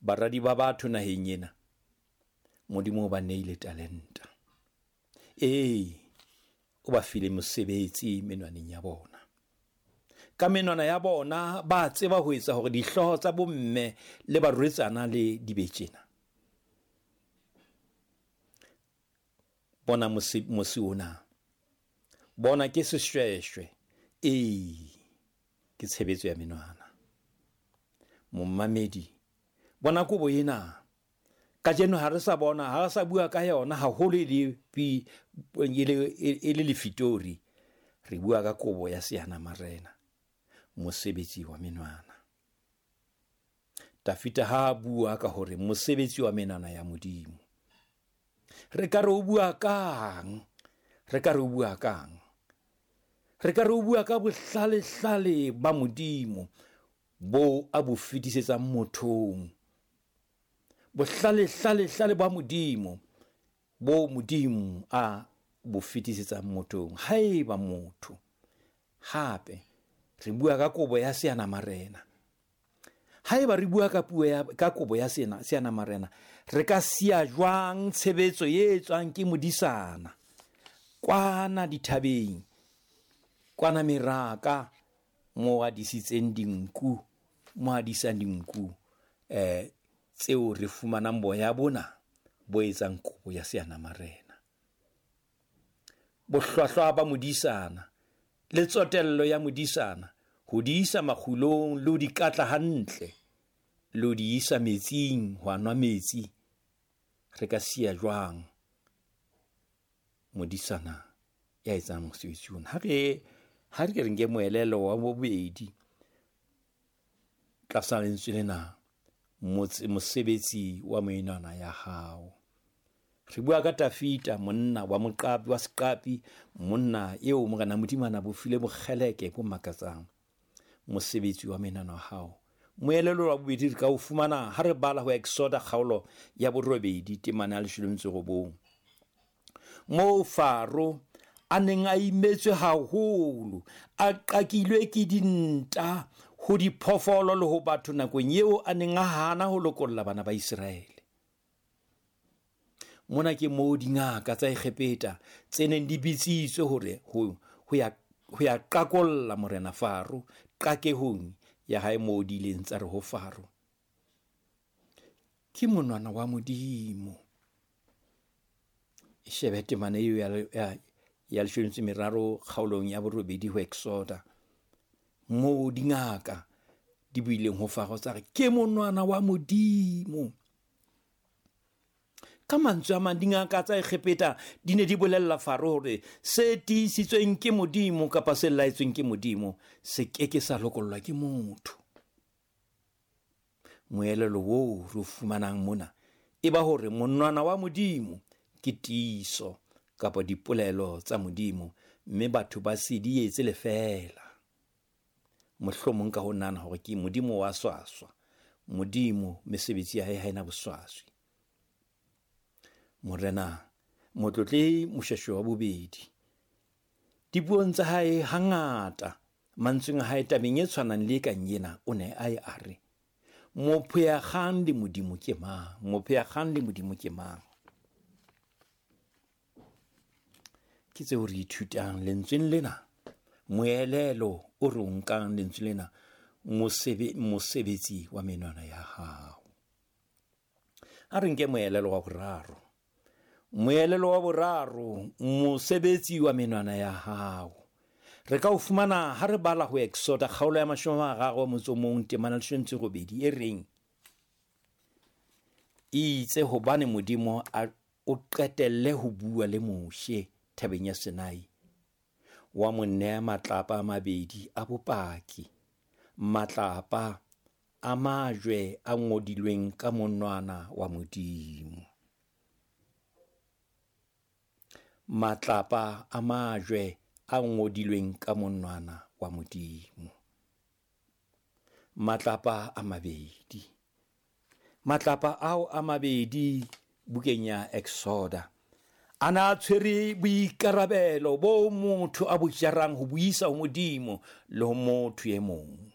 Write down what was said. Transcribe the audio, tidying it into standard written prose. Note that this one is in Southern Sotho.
Baradi ba batho naheng ena, Modimo o ba neile talenta. Ee, o ba file mosebetsi menwaneng ya bona. Ka menwana ya bona ba tseba ho etsa hore dihlooho tsa bomme le barwetsana le di be tjena. Bona mosi ona. Bona ke seshweshwe. Ee, ke tshebetso ya menwana. Momamedi, bona kobo ena. Kajeno ha re sa bona, ha re sa bua ka yona haholo e le e le lefitori. Re bua ka kobo ya seana marena, mosebetsi wa menwana. Tafita ha a bua ka hore mosebetsi wa menwana ya Modimo. Re ka re o bua kang? Re ka re o bua kang? Re ka re o bua ka bohlalehlale ba Modimo bo a bo fetisetsang mothong. Bohlalehlalehlale ba Modimo bo Modimo a bo fetisetsang mothong. Haeba motho hape re bua ka kobo ya seana marena, haeba re bua ka puo ya ka kobo ya sena seana marena, re ka siya jwang tshebetso e etswang ke modisana kwana dithabeng, kwana meraka mo a disitseng dinku, mo a disang dinku tseo re fumanang boya bona bo etsang kobo ya seana marena. Bohlwahlwa ba modisana le tsotello ya modisana ho di isa makgulong le ho di katla hantle le ho di isa metsing ho a nwa metsi, re ka siya jwang modisana ya etsang mosebetsi ona? Ha re ke re nke moelelo wa bobedi tlasa lentswe lena, mosebetsi wa menwana ya hao. Re bua ka Tafita, monna wa moqapi wa seqapi, monna eo Morena Modimo a na bo file bokgeleke bo makatsang. Mosebetsi wa menwana wa hao. Moelelo wa bobedi re ka o fumana ha re bala ho Exoda kgaolo ya 8 temana ya 19. Moo Faro a neng a imetswe haholo, a qakilwe ke dinta ho diphoofolo le ho batho nakong eo a neng a hana ho lokolla bana ba Iseraele. Mona ke moo dingaka tsa Egepeta tse neng di bitsitswe hore ho ya qakolla morena Faro qakehong ya hae, moo di ileng tsa re ho Faro, ke monwana wa Modimo. E shebe temana eo ya 13 kgaolong ya 8 ho Exoda, moo dingaka di buileng ho Faro tsa re ke monwana wa Modimo. Ka mantswe a mang, dingaka tsa Egepeta di ne di bolella Faro hore se tiisitsweng ke Modimo kapa se laetsweng ke Modimo se ke ke sa lokollwa ke motho. Moelelo oo re o fumanang mona e ba hore monwana wa Modimo ke tiiso kapa dipolelo tsa Modimo, mme batho ba se di etse lefeela. Mohlomong ka ho nahana hore ke Modimo wa swaswa, Modimo mesebetsi ya hae ha ena boswaswi. Morena Motlotlehi Moshweshwe wa bobedi, dipuong tsa hae hangata mantsweng a hae tabeng e tshwanang le e kang ena, o ne a e a re, mopheakgang le Modimo ke mang? Mopheakgang le Modimo ke mang? Ke tseo re ithutang lentsweng lena, moelelo o re o nkang lentswe lena, mosebetsi wa menwana ya hao. A re nke moelelo wa boraro. Moelelo wa boraro, mosebetsi wa menwana ya hao. Re ka o fumana ha re bala ho Exoda kgaolo ya 31 temana 18 e reng, itse hobane Modimo a o qetelle ho bua le Moshe thabeng ya Sinai, wa mo nea matlapa a mabedi a bopaki, matlapa a majwe a ngodilweng ka monwana wa Modimo. Matlapa a majwe a ngodilweng ka monwana wa Modimo. Matlapa a mabedi. Matlapa ao a mabedi bukeng ya Exoda a na tshwere boikarabelo bo motho a bo jarang ho buisa ho Modimo le ho motho e mong.